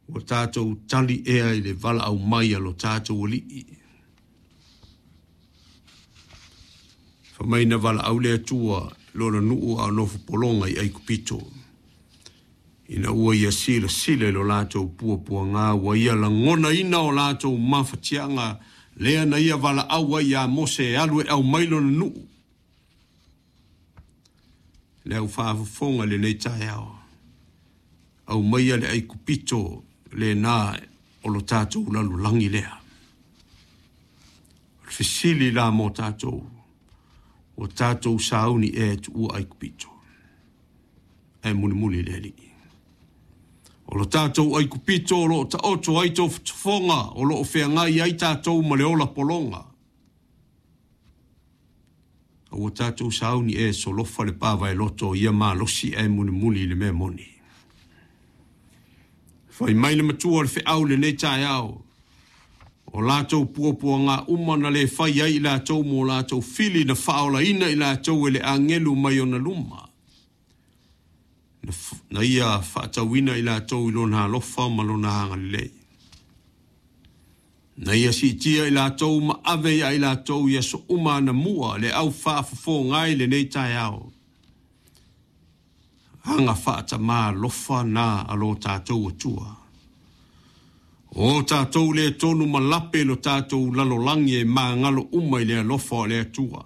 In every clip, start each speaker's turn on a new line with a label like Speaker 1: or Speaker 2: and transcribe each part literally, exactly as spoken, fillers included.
Speaker 1: Ua tātou tali ea i le valaau mai a lo tātou Alii. Fai mai na valaau le Atua lona nuu a o nofo pologa i Aikupito. Ina ua ia silasila i lo latou puapuaga, ua ia lagonaina o latou mafatiaga, lea na ia valaau ai ia Mose e alu e aumai lona nuu. Le au faafofoga i lenei taeao, aumaia le Aikupito lena o lo tatou lalolagi lea. O le fesili la mo tatou, ua tatou sauni ea e tuua Aikupito, ae mulimuli le Alii. O lo tatou Aikupito o lo o taoto ai tofotofoga, o lo o feagai ai tatou ma le ola pologa. A ua tatou sauni ea e solofa le pavaeloto ia malosi ae mulimuli i le mea moni. Fai mai le matua o le feau i lenei taeao, o latou puapuaga uma na le fai ai i latou mo latou fili na faaolaina i latou e le agelu mai ona luma. Na ia faatauina i latou i lona alofa ma lona agalelei. Na ia siitia i latou ma ave ia i latou i aso uma anamua le au faafofoga ai lenei taeao. Aga faatamā alofa na a lo tatou Atua. O tatou le tonu ma lape lo tatou lalolagi e magalo uma i le alofa o le Atua.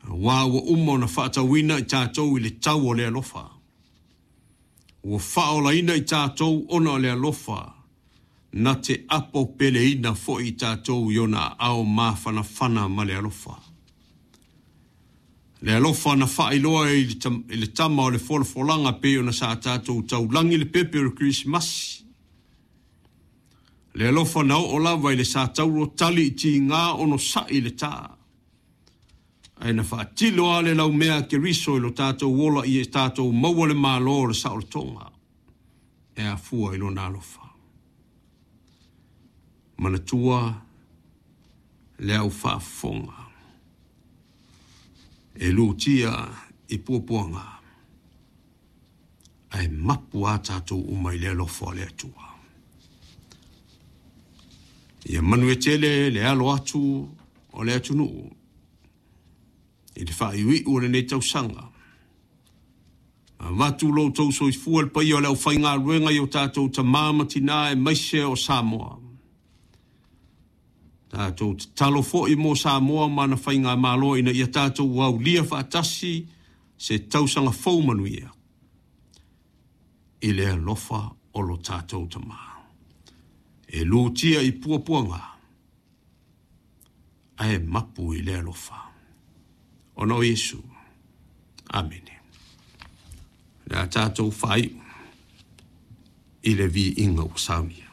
Speaker 1: Aua ua uma ona faatauina i tatou i le tau o le alofa. Ua faaolaina i tatou ona o le alofa, na te apo peleina foi i tatou i ona aao mafanafana ma le alofa. Le alofa na faailoa i le tama o le folafolaga pei ona sa tatou taulagi le pepe o le Kerisimasi. Le alofa na oo lava i le sa tauro tali i tiga ono sa'i le tā. Ae na faatilo lava le laumea a Keriso i lo tatou ola ia tatou maua le malo o le saolotoga e afua i lona alofa. Manatua le au faafofoga e lutia i puapuaga, ae mapu a tatou uma i le alofa o le Atua. Ia manuia tele le alo atu o le atunuu i le faaiuiu o lenei tausaga. Avatu lo outou soifua le paia o le aufaigaluega i o tatou tamā ma tinā aemaise o Samoa. Tatou tatalo foi mo Samoa ma ana faigamalo ina ia tatou aulia faatasi se tausaga fou manuia i le alofa o lo tatou Tamā. E lutia i puapuaga, ae mapu i le alofa. Ona o Iesu. Amene. Le a tatou faaiu i le viiga ua saunia.